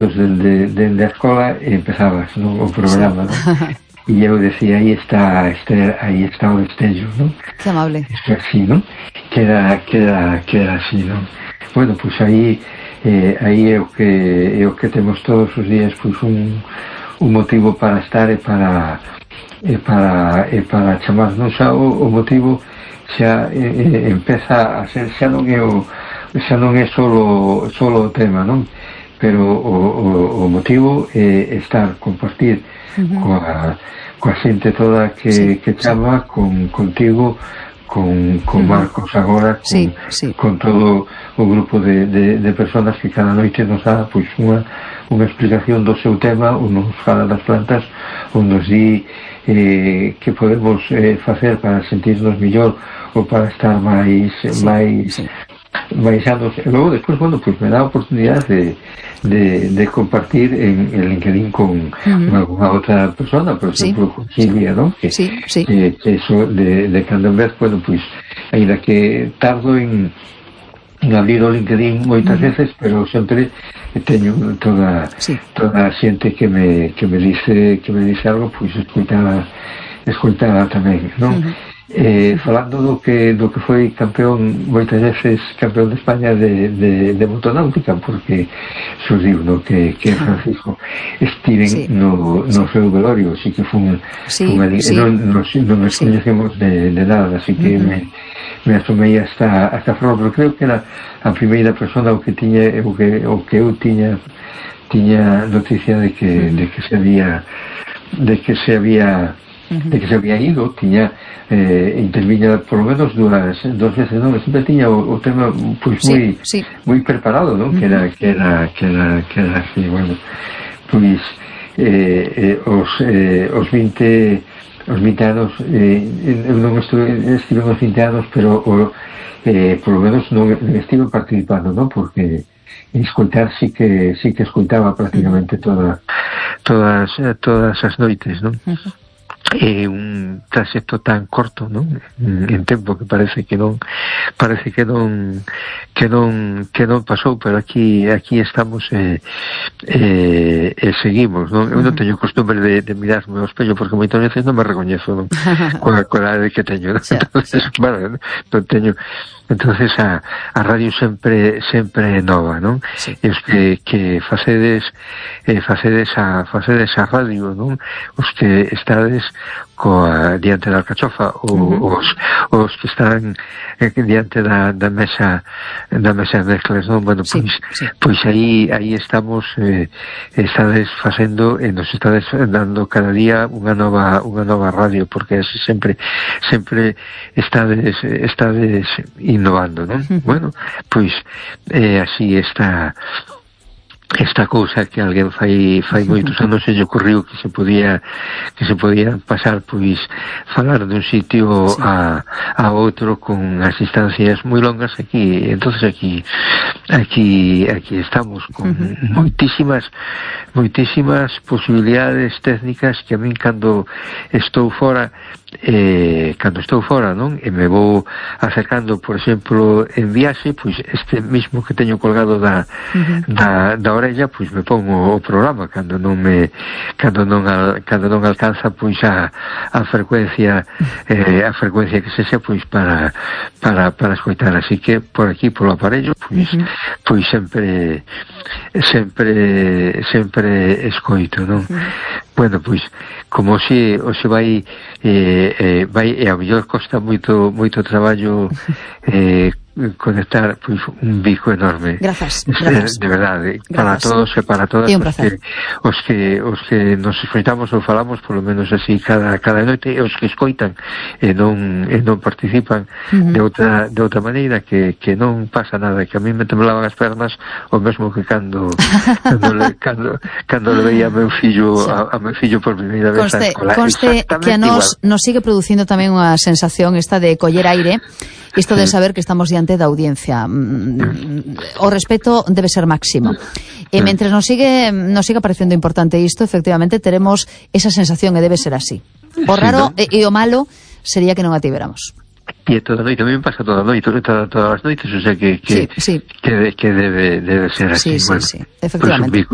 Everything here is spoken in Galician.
de escola empezabas, non, o programa, non? E eu decía, aí está o destello, non? Que amable. Isto así, non? Queda así, non? Bueno, pois aí é o que temos todos os días, pois un motivo para estar e para chamar, non? Xa o motivo xa empeza a ser, xa non é solo o tema, non? Pero o motivo é estar, compartir coa xente toda que chama, contigo, con Marcos agora, con todo o grupo de personas que cada noite nos dá pois unha explicación do seu tema, ou nos fala das plantas, ou nos di que podemos facer para sentirnos mellor ou para estar máis anos. E logo despois, bueno, pois me dá a oportunidade de compartir en LinkedIn con alguna outra persona, por exemplo, con Silvia, non? Que eso de cando en vez, bueno, pois ainda que tardo en abrir o LinkedIn moitas veces, pero sempre teño toda a xente que me dice algo, pois escoitaba tamén, non? Falando do que foi campeón, moitas veces campeón de España de motonáutica, porque surdiu no que Francisco estiven no seu velorio, así que foi non nos coñecemos de nada, así que me asomei hasta Flor, pero creo que era a primeira persona o que eu tiña noticia de que se había ido, tiña interviña por lo menos dos veces, non? Sempre tiña o tema pois moi preparado, non? Que era así, bueno, pois os 20 anos eu non estive nos 20 anos, pero por lo menos non estive participando, non? Porque escoitar sí que escoitaba prácticamente todas as noites, non? É un traxecto tan corto, non? En tempo que parece que non pasou, pero aquí estamos e seguimos, non? Eu non teño costumbre de mirarme ao espello porque moitas veces non me recoñezo, non? Coa edade que teño, non? Entonces, bueno, non teño. Entonces a radio sempre é nova, non? E os que facedes a radio, non? Os que estades diante da alcachofa, os que están diante da mesa de mezclas, non? Bueno, pois aí estamos, estades facendo e nos estades dando cada día unha nova radio, porque así sempre estades innovando, non? Bueno, pois así esta cousa que alguén fai moitos anos se lle ocurriu que se podía pasar, pois falar dun sitio a outro con as distancias moi longas. Entonces aquí estamos con moitísimas posibilidades técnicas que a min cando estou fora, non? E me vou acercando, por exemplo, en viaxe, pois este mismo que teño colgado da orella, pois me pongo o programa cando non alcanza pois a frecuencia que sexa, pois para escoitar. Así que por aquí, polo aparello, pois sempre escoito, non? Bueno, pois como se vai e a mellor costa moito traballo conectar, pois un bico enorme. Grazas. De verdade, para todos e para todas os que nos escoitamos ou falamos, polo menos así cada noite, e os que escoitan e non participan de outra maneira, que non pasa nada, que a mí me temblaban as pernas o mesmo que cando le veía a meu fillo por primeira vez a escola. Conste que a nos sigue producindo tamén unha sensación esta de coller aire, isto de saber que estamos diante da audiencia. O respeto debe ser máximo. E mentre nos sigue parecendo importante isto, efectivamente teremos esa sensación e debe ser así. O raro e o malo sería que non a tiveramos. E toda a noite, a mí me pasa todas as noites, o sea que debe ser así. Sí, efectivamente.